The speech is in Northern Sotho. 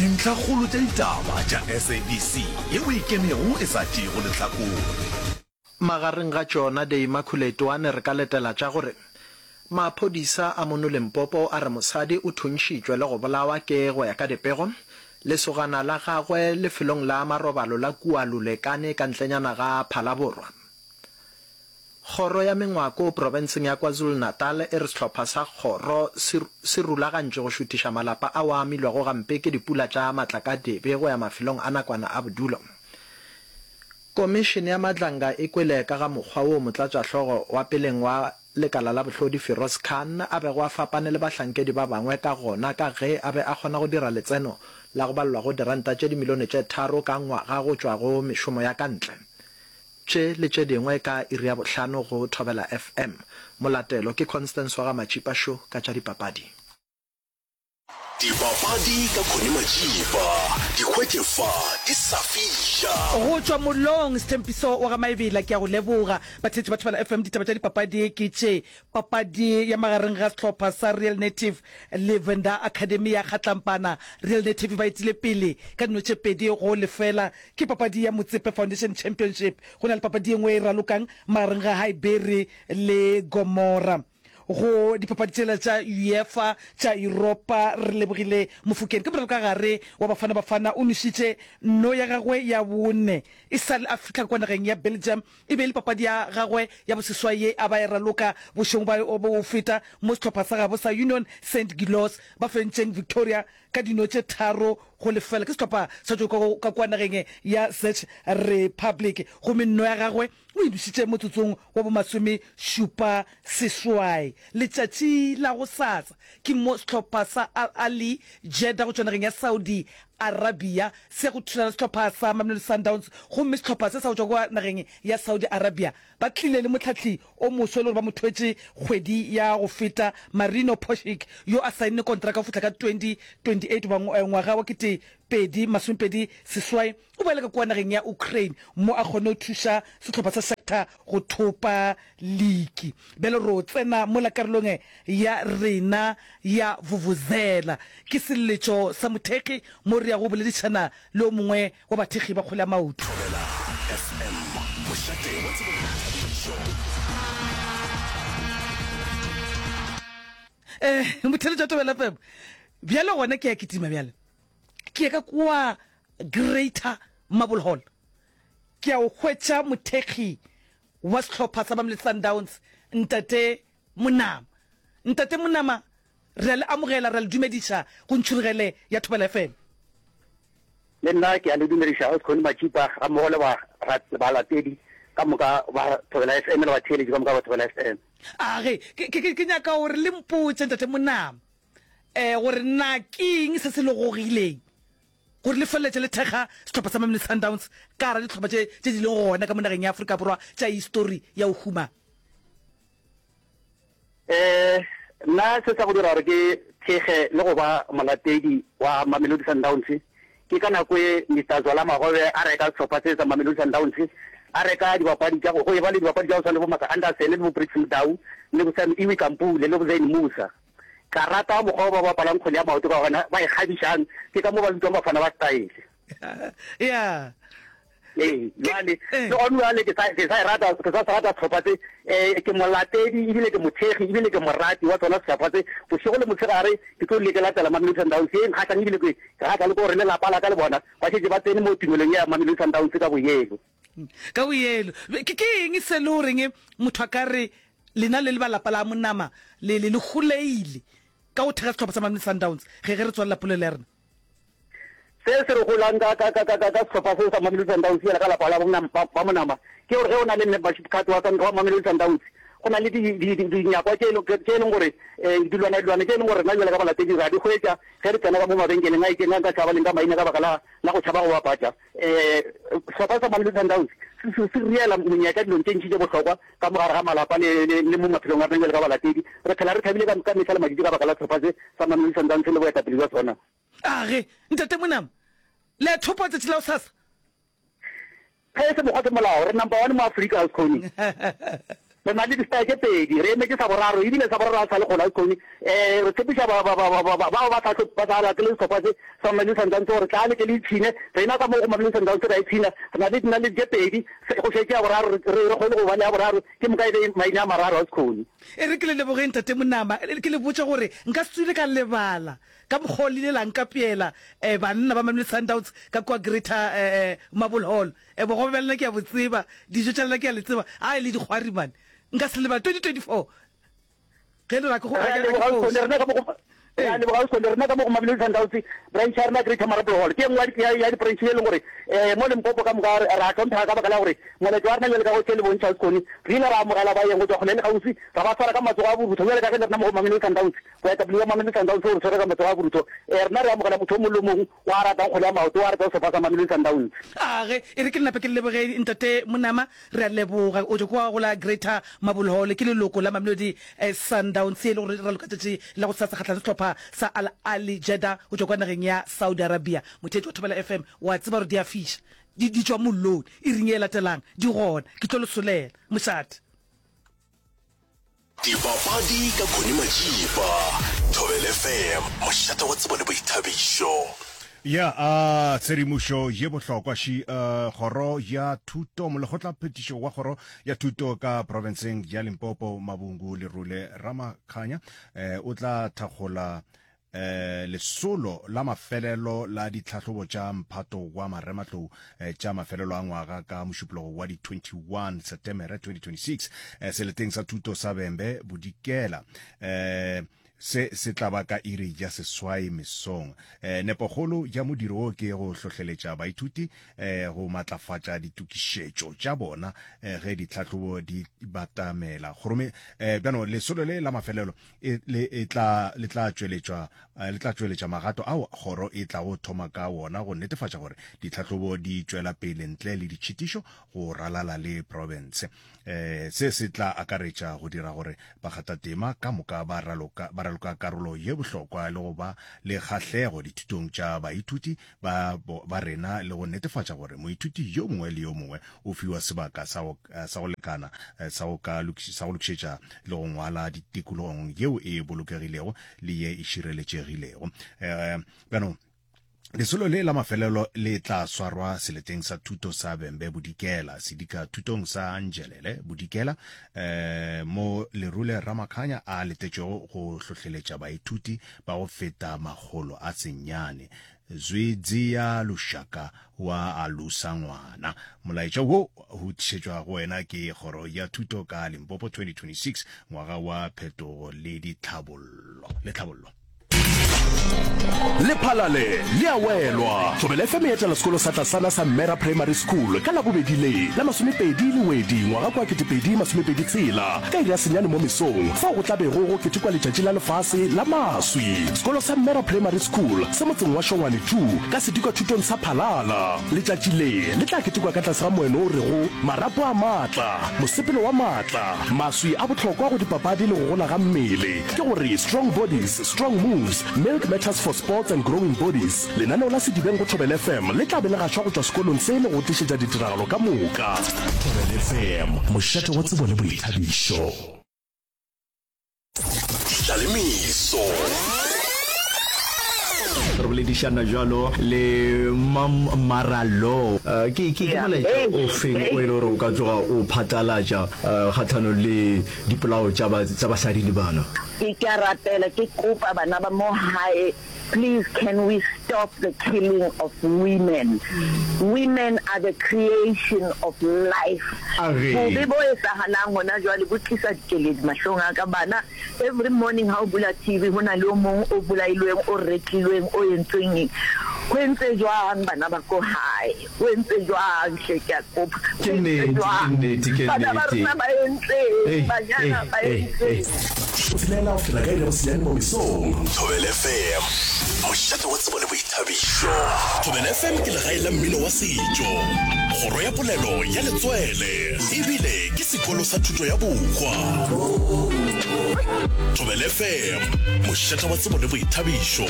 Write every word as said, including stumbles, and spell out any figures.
Dintlhakgolo tša ditaba tša S A B C yeo e ikemego e sa tšeego lehlakore. Magareng ga tšona The Immaculate One re ka letela tša gore maphodisa a mono Limpopo a re mosadi o thuntšhitšwe le go bolawa ke, go ya ka dipego, lesogana la gagwe lefelong la marobalo la kua Lulekane ka ntlenyana ga Phalaborwa. Kgoro ya Mengwako profenseng ya KwaZulu-Natal e re sehlopha sa kgoro se se rulagantšwe go šuthiša malapa ao a amilwego gampe ke dipula tša matlakadibe go ya mafelong a nakwana a bodulo. Komišene ya Madlanga e kwele ka ga mokgwa woo motlatšahlogo wa peleng wa lekala la bohlodi Firoz Khan a bego a fapane le bahlankedi ba bangwe ka gona ka ge a be a kgona go dira letseno la go balelwa go diranta tše dimilione tše tharo ka ngwaga go tšwa go mešomo ya ka ntle. Tše le tše dingwe ka iri ya bohlano go Thobela F M. Molatelo ke Constance wa ga Matšipa Šo ka tša dipapadi. Dipapadi ka Connie Matšipa, di hwetše fa di sa fiša. Go tšwa mollong, Sthempiso wa ga Maebela, ke a go leboga. Batheetši ba Thobela F M, ditaba tša dipapadi ke tše. Papadi ya magareng ga sehlopha sa Real Native le Venda Academy ya Kgatlampana. Real Native ba etile pele ka dino tše pedi go lefela. Ke papadi ya Motsepe Foundation Championship. Go na le papadi ye nngwe e ralokang magareng ga Highbury le Gomora. Go dipapadi tšela tša UEFA tša Yuropa, re lebogile Mofokeng ke moralokagare wa Bafana Bafana o nwešitše nno ya gagwe ya bone e sa le a fihla kwa nageng ya Belgium. E be e le papadi ya gagwe ya boseswai ye a ba e raloka bošego bja go feta mo sehlopha sa gabo sa Union Saint-Gilloise ba fentšeng Victoria ka dino tše tharo go lefela. Ke sehlopha sa tšwa ka kua nageng ya Czech Republic gomme nno ya gagwe o e nwešitše motsotsong wa bomasome šupa seswai. Letšatši la gosasa ke mo sehlopha sa Al Ahly Jeddah go tšwa nageng ya Saudi Arabia se go thulana le sehlopha sa Mamelodi Sundowns gomme sehlopha se sa go tšwa kua nageng ya Saudi Arabia ba tlile le mohlahli o moswa e le gore ba mo thwetše kgwedi ya go feta, Marino Pošic, yo a saenne kontraka go fihla ka twenty twenty-eight goba ngwaga wa kete pedi masomepedi seswai. O boela ka kua nageng ya Ukraine mo a kgonne go thuša sehlopha sa Shakhtar go thopa liki. Bjale ro tsena mola karolong ya rena ya vuvuzela. Ke seleletšo sa mothekgi mo re yago go boledišana le o mongwe wa bathekgi ba kgwele ya maoto. Thobela F M, mošate wa tsebo le boithabišo. Eh, motheletši wa Thobela F M. Bjale gona ke ya kitima bjale. Ke ya ka kua Greater Marble Hall. Ke ya go hwetša mothekgi wa sehlopha sa Mamelodi Sundowns, Ntate Monama. Ntate Monama, re a le amogela, re a le dumediša go Ntšhurugele ya Thobela F M. Le nna ke a le dumediša, Ausi Matšipa, ga mmogo le balatedi ka moka ba Thobela F M le batheeletši ka moka ba Thobela F M. A ge, ke, ke, ke nyaka gore le mpotše, Ntate Monama, eh, gore na ke eng se se le gogileng gore le feleletše le thekga sehlopha sa Mamelodi Sundowns ka gara dihlopha tše tše di leng gona ka mo nageng ya Afrika Borwa tša histori ya go huma? Eh, nna se sa go dira gore ke thekge le go ba molatedi wa Mamelodi Sundowns ke ka nako e Mister Zola Magobe a reka sehlopha se sa Mamelodi Sundowns, a reka dibapadi tša go go e ba le dibapadi tša go swana le bo Maka Anderson le bo Briggs Mdau le bo Sam Iwi Kampule le bo Zain Musa. Ka rata mokgwa o ba bapalang kgwele ya maoto ka gona, ba e kgabišang, ke ka mo ba bitswang Bafana ba Style. Ya. Ee, jwale le gone jwale ke sa ke sa e rata, ke sa se rata sehlopha se. Eh, ke molatedi ebile ke mothekgi ebile ke morati wa sona sehlopha se. Bošego le motshegare ke tlo dule ke latela Mamelodi Sundowns ye e nkgahlang, ebile ke ke kgahla le ke gore le lapa la ka le bona ba šetše ba tsene mo tumelong ya Mamelodi Sundowns ka boyelo. Ka boyelo. Ke ke eng se le goreng motho a ka re lena le le ba lapa la Monama le le le goleile ka go thekga sehlopha sa Mamelodi Sundowns ge ge re tswalela polelo ya rena? Se se re golang ka ka ka ka ka sehlopha se sa Mamelodi Sundowns bjale ka lapa la ba Monama ke gore ge o na le membership card wa wa Mamelodi Sundowns, go na le di di di dinyakwa tše tše e leng gore dilwana dilwana tše e leng gore rena bjale ka balatedi ra di hwetša ge re tsena ka mo mabenkeleng a itšeng a nka tšhaba leng ka maina ka baka la la go tšhaba go bapatša. Sehlopha sa Mamelodi Sundowns se se se riela monyetla dilong tše ntši tše bohlokwa ka mo gare ga malapa le le le mo maphelong a rena bjale ka balatedi. Re phela re thabile ka ka mehla le matšatši ka baka la sehlopha se sa Mamelodi Sundowns le boetapele bja sona. A ge, Ntate Monama, le a thopa tšatši la gosasa? Ge e se mokgwa ke molao, re number one mo Afrika, Ausi Connie. Re na le di-star tše pedi, re emetše sa boraro, ebile sa boraro ga se sa le kgole Ausi Connie. Um re tshepiša ba, ba, ba, ba, ba, ba, bao ba sa tlo, ba sa latele sehlopha se sa Mamelodi Sundowns gore tla le ke le ipshine. Rena ka mo go Mamelodi Sundowns re a ipshina, re na le dinaledi tše pedi, se, go šetše ya boraro, re, re, re kgone go ba le ya boraro, ke moka e be maina a mararo Ausi Connie. E re ke le lebogeng Tate Monama, ke le botše gore nka se tswile ka lebala ka mokgwa o le ile la nkapeela um banna ba Mamelodi Sundowns ka kua Greater um Marble Hall. E, bogobe bja lena ke a bo tseba, dijo tša lena ke a le tseba, ai le dikgwari man. Nka se lebale twenty twenty four ge le re a ke go, Re a a ke, a ke leboga foše. Ausi rena ka mo go Re a Ee. leboga Ausi rena ka mo go Mamelodi Sundowns branch ya rena Greater Marble Hall ke e nngwe ya ya di-branch ye e leng gore um mo Limpopo ka moka re a hlomphega ka baka la gore moletlo wa rena bjale ka go tše le bontšha Ausi Connie re ile ra amogela baeng go tšwa kgole le kgauswi ra ba swara ka matsogo a borutho bjale ka ge le rena mo go Mamelodi Sundowns boetapele bja Mamelodi Sundowns bo re swere ka matsogo a borutho um rena re amogela motho o mongwe le o mongwe wa ratang kgwele ya maoto, wa ratang sehlopha sa Mamelodi Sundowns. A ge, e re ke nape ke le leboge Ntate Monama, re a leboga. O tšwa kua go la Greater Mabulhole, ke leloko la Mamelodi Sundowns ye e le gore e raloka tšatši la gosasa kgahlanong le sehlopha sa Al Ahly Jeddah go tšwa kua nageng ya Saudi Arabia. Motheetši wa Thobela F M, wa tseba gore di a fiša, di, di tšwa mollong. Iring ye e latelang, di gona. Ke tlo le solela. Mošate. Dipapadi ka Connie Majiba, Thobela F M, mošate wa tsebo le boithabišo. Ya a tshedimošo ye bohlokwa ši uh, kgoro ya thuto molekgotla phetišo wa kgoro ya thuto ka profenseng ya Limpopo Mabungu Lerule Ramakhanya eh, o tla thakgola Lesolo la mafelelo la ditlhahlobo tša mphato wa marematlou tša mafelelo a ngwaga ka Mošupologo wa di twenty one Setemere twenty twenty six seleteng sa thuto sa Vhembe Bodikela. Se se tla ba ka iri ya seswai mesong. Nepokgolo ya modiro wo ke go hlohleletša baithuti go matlafatša ditokišetšo tša bona ge ditlhahlobo di batamela. Kgorome bjano lesolo le la mafelelo e, le, e tla, le tla tšweletšwa, le tla tšweletša magato ao kgoro e tlago thoma ka wona go netefatša gore ditlhahlobo di tšwela pele ntle le ditšhitišo go ralala le profense. E, se se tla akaretša go dira gore bakgathatema ka moka ba raloka, ba raloka karolo ye bohlokwa le go ba le kgahlego dithutong tša baithuti ba, ba rena le go netefatša gore moithuti yo mongwe le yo mongwe o fiwa sebaka sa go, sa go lekana sa go ka sa go lokišetša le go ngwala tikologong yeo e bolokegilego le ye e šireletšegilego. Bjano, lesolo le la mafelelo le tla swarwa seleteng sa thuto sa Vhembe Bodikela, sedika thutong sa Nzhelele Bodikela, eh, mo Lerule Ramakhanya a letetšwego go hlohleletša baithuti ba go feta makgolo a senyane. Zwi dzia lushaka wa alusa ngwana. Molaetša wo o tlišetšwa go wena ke Kgoro ya Thuto ka Limpopo twenty twenty six, ngwaga wa phetogo le ditlhabollo. Le tlhabollo. Lephalale le a welwa! Thobela F M e etela sekolo sa tlasana sa Mmera Primary School ka Labobedi le la masomepedi Lewedi ngwaga kwa ketepedi masomepedi tshela ka iri ya senyane mo mesong fao go tla bego go ketekwa letšatši la lefase la maswi. Sekolo sa Mmera Primary School se motseng wa Shongwane two ka sedikwathutong sa Phalala. Letšatši le le tla ketekwa ka tlase ga moeno o rego Marapo a maatla, mosepelo wa maatla, maswi a bohlokwa go dipapadi le go gola ga mmele, ke gore Strong Bodies, Strong Moves, Milk Matters for Sports and Growing Bodies. Lenaneo la Sedibeng go Thobela F M le tla be le gašwa go tšwa sekolong se le go tlišetša ditiragalo ka moka. Thobela F M, mošate wa tsebo le boithabišo. Tlalemeso. Re boledišana bjalo le Mam Maralo. Ke, ke, ke molaetša o feng o e le gore o ka tloga o phatlalatša kgahlanong le dipolao tša ba, tša basadi le bana? Ke, ke a rapela, ke kopa bana ba mo hae, please can we stop the killing of women? Women are the creation of life. A re. Bobe bo etsahalang hona jwale bo tlisa dikeledi mahlong a ka. Bana, every morning ha o bula T V ho na le o mong o bolailweng, o retlilweng, o entsweng eng. Ho entse jwang bana ba ko hae? Ho entse jwang hle ke a kopa? Ke Ho entse nnete, ke jwang? nnete, ke Bana ba nnete. rona ba entseng? Ei, Banyana ei, ba ei, entseng? ei. Tshelela go fihla ka iri ya bosenyane mo mesong. Thobela F M, mošate wa tsebo le boithabišo. Thobela F M ke legae la mmino wa setšo, kgoro ya polelo ya letswele, ebile ke sekolo sa thuto ya bohwa. Thobela F M, mošate wa tsebo le boithabišo.